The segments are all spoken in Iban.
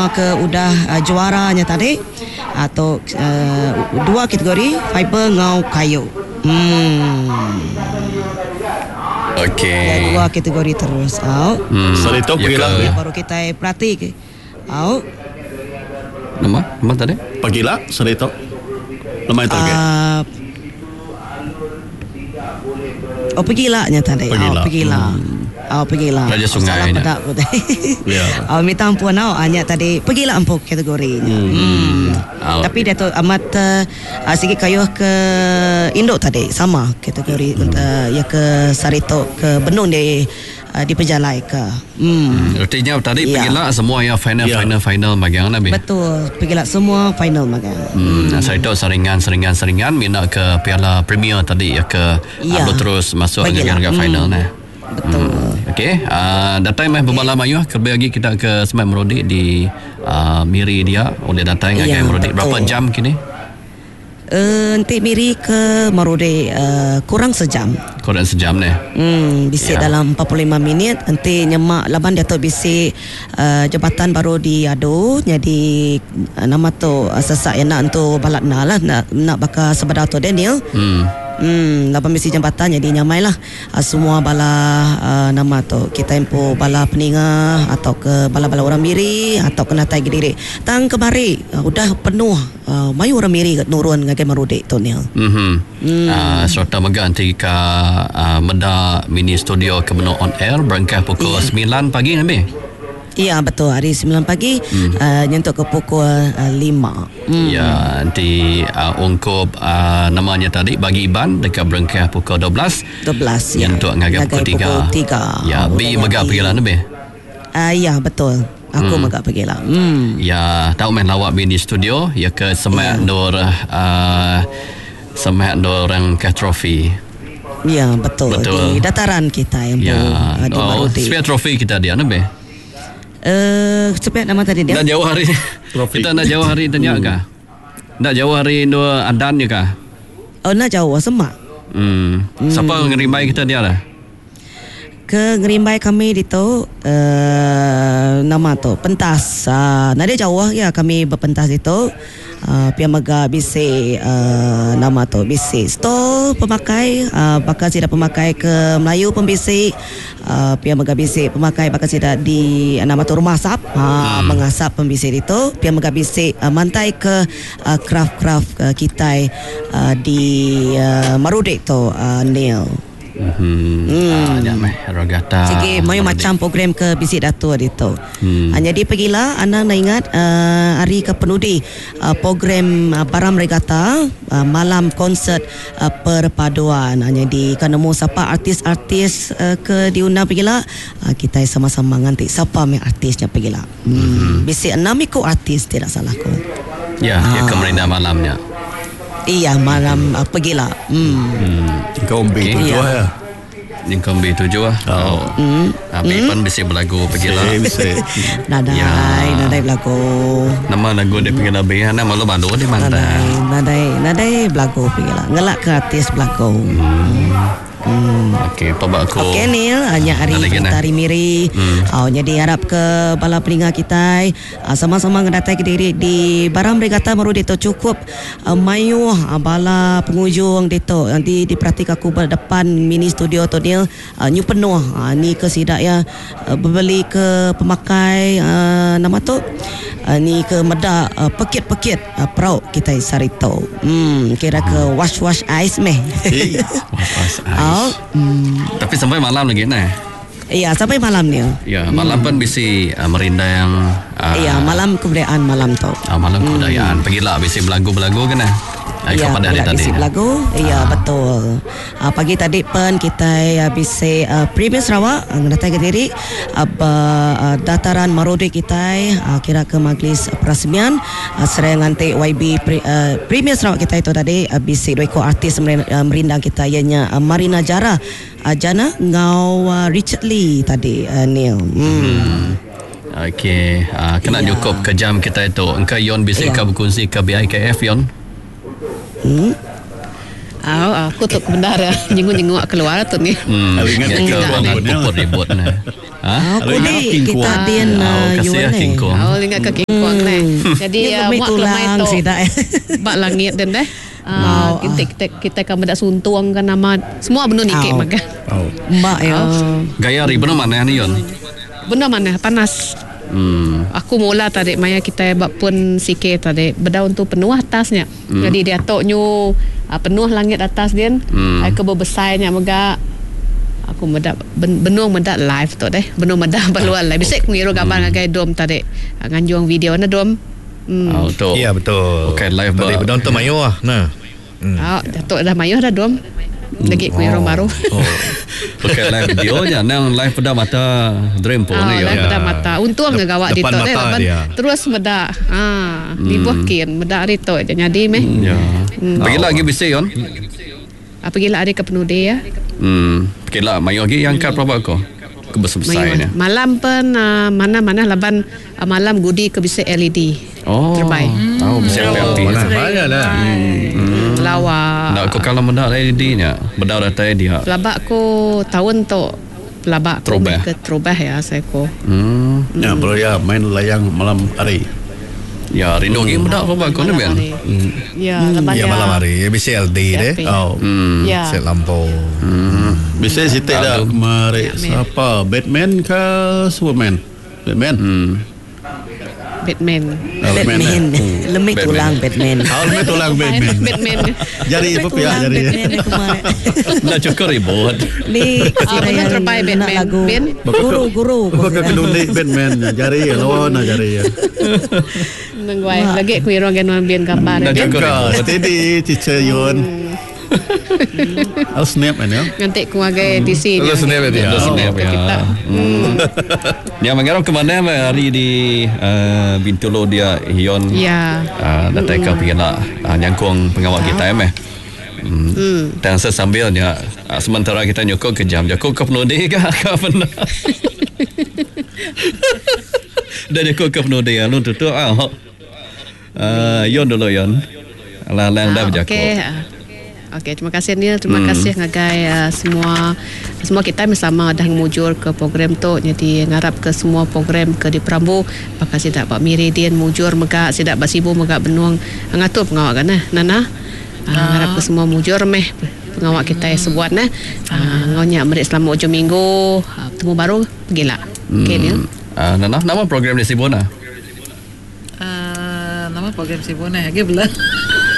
Semua ke udah juara nya tadi tu dua kategori fiber enggau kayu. Emm. Okey. Ya dua kategori terus au. Hmm. Sehari tu Ya pegila ke Ya baru kitai perati ke au. Nama? Nama tadi? Pagila sehari tu. Lemai tu agi. Uh, oh pegila nya tadi. Pegila. Oh pegila. Oh pegila. Raja Oh, Sungai salah nya. peda ku tadi. Ya. Oh minta ampun au ah, nya tadi pegila empu kategori nya. Hmm. Au. Tapi dia tu amat uh, sigi kayuh ke indu tadi sama kategori hmm. uh, ya ke saritu ke benung di uh, dipejalaika. Hmm. Artinya tadi Ya. pegila semua ya final Ya. final final magang lah bi. Betul, pegila semua final magang. Hmm, saya tahu saringan saringan saringan mina ke Piala Premier tadi ya ke Ya. yeah. terus masuk Pegila. dengan Hmm. final nah. Betul. Hmm. Okey, uh, datang meh berbala mayuh kelebih lagi kita ke Semat Merudi di uh, Miri dia oleh datang Ya, ngagai Merudi. Berapa betul. jam kini? Uh, nanti Miri ke Marudi uh, kurang sejam. Kurang sejam ni. Hmm, bisi Ya. dalam 45 minit nanti nyemak laban dia tu bisi uh, jabatan baru diadu jadi uh, nama tu uh, sesak yang nak untuk balak na lah nak nak bakal sebedar tu Daniel. Hmm. Hmm, laban bisi jambatan jadi nyamai lah uh, semua bala uh, nama tu kita empu bala peninga atau ke bala-bala orang Miri atau kena tai diri. Tang kemari uh, udah penuh uh, mayu orang Miri kat nurun ngagai Marudi tu Neil. Mhm. Hmm. Uh, serta mega nanti ke uh, Meda mini studio ke Meno on air berangkat pukul Ya. 9 pagi nanti. Ya betul hari 9 pagi hmm. uh, nyentuk ke pukul uh, 5. Hmm. Ya, nanti uh, ungkup uh, namanya tadi bagi Iban dekat berangkat pukul 12. 12 ya. Nyentuk ngagai pukul 3. Pukul 3. Ya, B mega pergi lah lebih. Uh, ya betul. Aku hmm. mega pergi lah. Hmm. Ya, tahu main lawak mini studio ya ke semak Ya. dor uh, semak dor orang ke trofi. Ya betul. Betul. Di dataran kita yang Ya. uh, di Oh, Marudi. spare trofi kita dia lebih. Eh, uh, nama tadi dia? Nak jauh hari. Trofi. Kita nak jauh hari tanya kah? Nak jauh hari dua adan je kah? Oh, nak jauh semak. Hmm. Siapa ngerimbai kita dia lah? Ke ngerimbai kami di tu uh, nama tu pentas. Uh, nada jauh ya kami berpentas itu. Uh, pia mega bisi uh, nama tu bisi stall pemakai uh, bakal sida pemakai ke Melayu pun bisi uh, pia mega bisi pemakai bakal sida di uh, nama tu rumah asap uh, hmm. mengasap pembisi itu pia mega bisi uh, mantai ke uh, craft-craft uh, kita uh, di uh, Marudik tu uh, Neil. Hmm. Ah, ya meh rogata. Sigi mayu macam program ke bisik datuk itu. Hmm. Hmm. Jadi pergilah anda nak ingat uh, hari ke penudi uh, program uh, Baram Regata uh, malam konsert uh, perpaduan. Uh, jadi kan nemu siapa artis-artis uh, ke diundang pergilah uh, kita sama-sama nganti siapa yang artisnya pergilah. Hmm. hmm. Bisik enam ikut artis tidak salahku. Ya, ya ke Marina malamnya. Iya malam uh, pergilah. Hmm. Hmm. Kau ambil Okey. tujuh Ya. ya. Yang kombi tujuh ah. Oh. Hmm. Abi pun bisi berlagu pergilah. Bisa. Nadai, Ya. nadai berlagu. Nama lagu dia pergi lebih Nama malu malu dia Nadai, mantan. nadai, nadai belagu pergilah. Ngelak ke artis belagu. Hmm. Okey, apa aku. Okey Neil, hanya hari Ada lagi, nah. Tari Miri. Hmm. Oh, jadi harap ke bala peninga kita ah, sama-sama ngedatai ke diri di Baram Regata Marudi tu cukup uh, mayuh ah, bala pengunjung ditu. Nanti diperhatikan aku depan mini studio tu Neil, uh, nyu penuh. Uh, ni ke sidak ya uh, berbeli ke pemakai uh, nama tu uh, ni ke medak uh, pekit-pekit uh, perau kita sarito. Hmm, kira ke wash wash ice meh. Was, was, Oh, ais. hmm. Tapi sampai malam lagi nah. Ya, sampai malam ni. Ya, malam pun bisi uh, merindang. Uh, Ya, malam kebudayaan malam tu. Uh, malam kebudayaan. Pergilah bisi belagu-belagu kan nah. Ya, kepada hari pula tadi. bisi belagu. Ya, betul. Uh, pagi tadi pun kita uh, bisi uh, Premier Sarawak uh, datang ke diri uh, uh, dataran Marudi kita uh, kira ke majlis perasmian uh, seraya nganti YB Pre, uh, Premier Sarawak kita itu tadi uh, bisi dua ekor artis uh, merindang kita ianya uh, Marina Jara uh, Jana ngau uh, Richard Lee tadi uh, Neil. Hmm. Okey, uh, kena Ya. cukup ke jam kita itu. Engkau Yon bisi Ya. kau berkongsi ke BIKF Yon. Hmm. Au, aku tu benar ya. Nyenguk-nyenguk keluar tu ni. Hmm. Kalau ingat Ya, King ke Kong orang pun, ya. puput ribut nah. Ha? Ah, Kalau ingat kudik King kita Kong. din Oh, uh, kasih ya, Yuan King ni. Kong. Au, ingat ke King Kong. Jadi Nya uh, lemi muak lemai tulang tu sida. ba langit den deh. Mau Uh, kita, kita kita kan meda suntung kan nama semua benung nikik Au. magang. Oh. Mbak ya. Gaya hari benar mana ni Yon? Benda mana panas. Aku mula tadi maya kita bak pun sikit tadi bedaun tu penuh atasnya. Jadi dia tok nyu penuh langit atas dia. Hmm. Ke berbesarnya mega aku meda ben, benung meda live tu deh. Benung meda baluan live. Bisa aku ngiru gambar ngagai dom tadi. Nganjung video na dom. Oh, tu. Ya betul. Okey, live Tadi ba- bedon tu mayu ah. Nah. Ah, Datuk dah mayuh dah dom. Lagi ku ngiru Oh. baru. Oh. Okey live video nya nang live pada mata dream pun Ah, ni live Yon. meda mata. Untung Dep- ke gawak depan ditok deh mata laban dia. terus meda. Ah, libuh kin meda hari tu je jadi meh. Ya. Pergi lagi bisa Yon. Apa gila hari ke penudi ya. Pergi lah mayu lagi yang kat berapa ko? Kebesar-besar ni. Mayuh. Malam pun mana-mana laban malam gudi ke bisa LED. Oh. Terbaik. Oh, bisa api-api. Mana banyak lah. Lawa. Nak kau kalau mendak LED nya, bedau datai dia. Pelabak ku tahun tu pelabak ku Terubah. ke terubah ya saya ku. Ya, bro ya main layang malam hari. Ya, rindu lagi mendak apa kau ni Malam Ben? hari. Ya, laban Ya malam hari bisa LD deh. Api. Oh. Ya. Set lampu. Bisa sitik dah kemari siapa? Batman ke Superman? Batman. Batman. Ah, Batman. eh. Lemik Batman. tulang Batman. Ah, lemik tulang Batman. Batman. Jari apa pihak Tulang jari? Batman aku kemarin. Nak cukup ribut. Ni Ah, sida benar yang terbaik nak Batman. lagu. Ben. Guru guru. Bakal kenundi Batman jari lawan lah jari ya. Nengguai lagi ku irong gen bin gambar. Nak Ben. cukup Kau ribut. steady teacher Yun. I'll snap man ya. Ngantik ku agai TC Lu snap dia. Lu snap Ke ya. kita. Yang mengarap ke mana meh hari di Bintulu dia Hion. Ya. Datai ke pergi nak nyangkung pengawal kita meh. Dan sesambilnya sementara kita nyokong ke jam jakuk ke penudi ke ke benda. Dah nyokong ke penudi lu tutup ah. Yon dulu Yon. Alah lang dah berjakuk. Okey. Okey, terima kasih Neil. Terima kasih ngagai semua semua kita bersama dah mujur ke program tu. Jadi ngarap ke semua program ke di Perambu. Bakal sidak Pak Miri Dian mujur mega sidak Pak Sibu mega benung ngatur pengawak kan eh Nana. Ngarap ke semua mujur meh pengawak kita sebuat nah. Ngau nyak merik selama ujung minggu. Bertemu baru pergilah. Okey Neil. Nana, nama program di Sibun ah. Nama program Sibun eh lagi belum.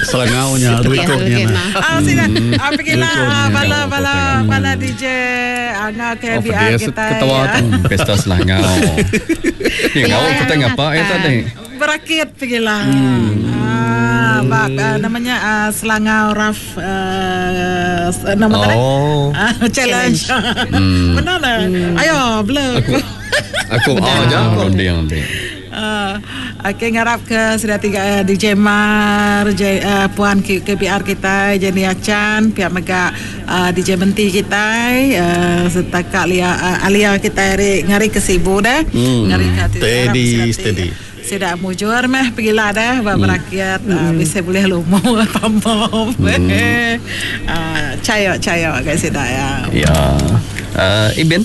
Selangaunya Okey, duitnya okey, nah. nah. Ah, sila. Ah, pergilah ah, bala bala bala DJ Angah Oh, KBR pedih kita. ketawa ya. tu. Pesta Selangau. Ya, kau kita ngapa ya tadi? Berakit pergilah. Ah, bak, namanya Selangau Raf nama tadi? Oh. Ah, challenge. Benar lah. Ayo, belum. Aku oh je. Runding runding. Okey ngarap ke sudah tiga DJ Mar, J, Puan KBR kita, Jenny Achan, pihak mega DJ Menti kita, serta Kak Lia, Alia kita hari ngari ke Sibu dah. Ngari ke Steady, steady. Sudah mujur meh pergilah dah berakyat bisa boleh lumu tambah. Cayo cayo guys sudah ya. Ya. Ibn.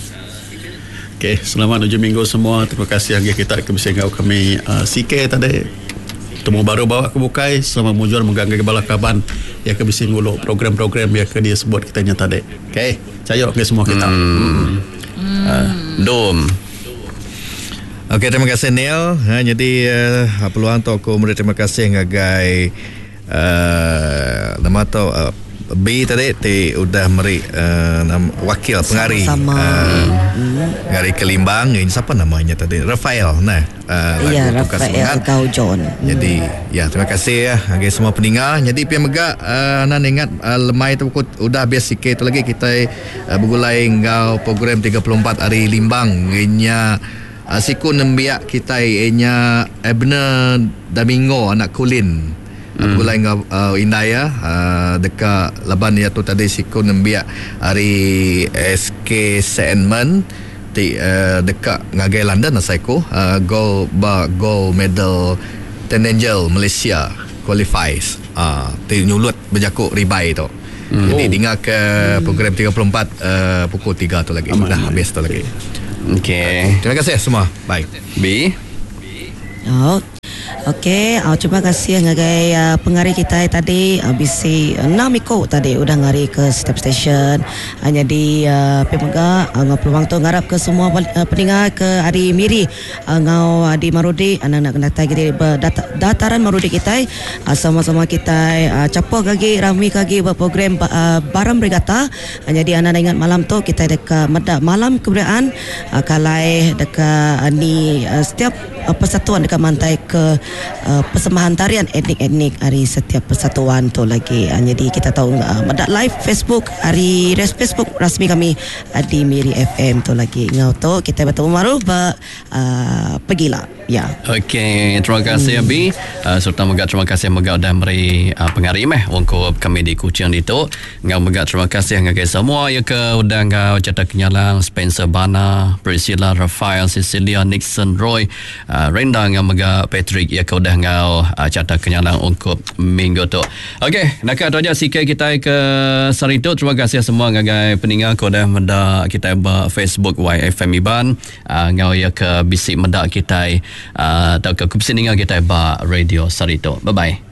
Okey, selamat hujung minggu semua. Terima kasih lagi kita ke bersama kami CK tadi. Temu baru bawa ke bukai. Selamat mujur mengganggu kepala kaban yang ke bisi nguluk program-program yang ke dia sebut kitanya tadi. Okey, cayo ke semua kita. Dom. Okey, terima kasih Neil. Ha, jadi peluang tu aku beri terima kasih ngagai nama tu B tadi ti udah meri wakil pengari Sama-sama. pengari Kelimbang ini siapa namanya tadi Rafael nah Ya, lagu Tukar Rafael Semangat. Gaujon. Jadi ya terima kasih ya bagi semua pendengar. Jadi pia mega nan ingat lemai tu aku udah habis sikit tu lagi kita bergulai ngau program 34 hari Limbang inya siku nembiak kita inya Abner Domingo anak Kulin. Bergulai ngau Indaya dekat laban ia tu tadi siku nembiak hari SK Sandman ti dekat ngagai London asai ku gold ba gold medal Ten Angel Malaysia qualifies ti nyulut berjakuk ribai tu. Jadi dengar ke program 34 pukul 3 tu lagi. Sudah habis tu lagi. Okey. Terima kasih semua. Bye. B. Oh. Okey, terima kasih ngagai pengari kitai tadi bisi enam iku tadi udah ngari ke setiap stesen. Nyadi pia mega enggau peluang tu ngarap ke semua peninga ke ari Miri enggau di Marudi anang enda datai diri ba dataran Marudi kitai sama-sama kitai chapuh ke agi rami ke agi ba program Baram Regatta. Nyadi anang ingat malam tu kitai deka meda malam kebudayaan kalai deka ni setiap Persatuan deka mantai ke persembahan tarian etnik-etnik ari setiap persatuan tu lagi. Nyadi kita tau meda live Facebook ari Facebook rasmi kami di Miri FM tu lagi. Enggau tu kitai betemu baru ba pegila. Ya. Okey, terima kasih Abi serta mega terima kasih mega udah meri pengari meh ungkup kami di Kuching ditu. Enggau mega terima kasih ngagai semua iya ke udah enggau Chata Kenyalang, Spencer Bana, Priscilla Raphael, Cecilia Nixon Roy, Renda enggau mega Patrick iya ke udah enggau Chata Kenyalang ungkup minggu tu. Okey, naka tu aja CK kitai ke sehari tu. Terima kasih semua ngagai peninga ke udah meda kitai ba Facebook YFM Iban enggau iya ke bisi meda kitai tauka ke bisi ninga kitai ba radio sehari tu. Bye bye.